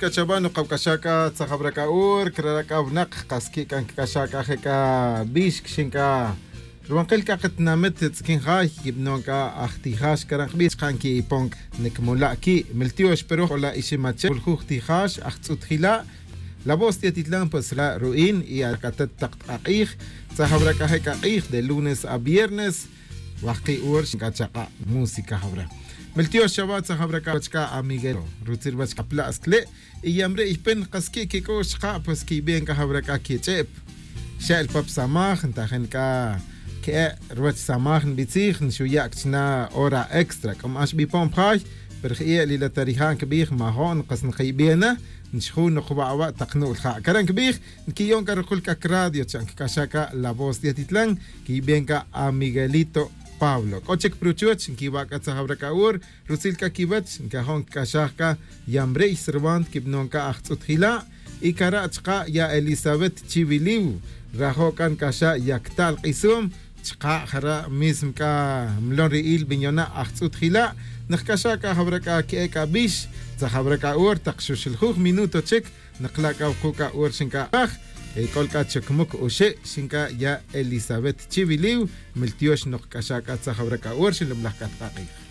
kachaba nuqawk'axaka tzajab'rak'a'ur krarak'awnaq qas ki'kan kk'axaka jeka b'ix kxinka ruwanqil kaqatnamit tz'kinjay kib'nonka ajtijax karanqb'ix qan ki'ipon nikmula' ki' miltiox pero ola iximache juljuj tijax ajtz'utjila' La Voz de Atitlán, pues la ruin y akatat taqtq'aq'ij tzajab'rak'ajek'aq'ij de lunes a viernes waqi ur xinkachaqa música jabra. Miltiox chava tzajab'rak'achka a Miguel rutzir bach kaplaskle y yamre ijpen qaski kik'ux qa pues kibien kajab'rak'a kich'ep xa'l pap samaj ntajen ka ke ruwach samaj nb'itzij nxuyak chna hora extra k'am ax b'ipon pjay pero ji'e lila tarijan kb'ij majon qas nqib'iena nxju nuqb'awa taqnu'l ja karan kb'ij nkiyon ka ruqul k'ak radio chan kk'axaka La Voz de Atitlán kib'enka a Miguelito Pablo. K'ochek pruchuach nkiwak'a tzajab'rak'a'ur rutzil ka kiwach nkajon kk'axajka yamrey Cervant kib'nonka ajtz'utjila' y karachqa ya Elizabeth Chibiliw rajokan kaxa yaktal q'isum chqa jara mism ka mlon ri'il biñona ajtz'utjila' nqk'axaka jab'rak'a ke'eka b'ix tzajab'rak'a'ur taq xuxiljuj minuto chik nqlak'a wuquka ur xinka aj k'olk'a chukmuk uxe' xinka ya Elizabeth Chibiliw miltiox noqk'axaka tzajab'rak'a'ur xinlumlaj k'atq'aq'ij.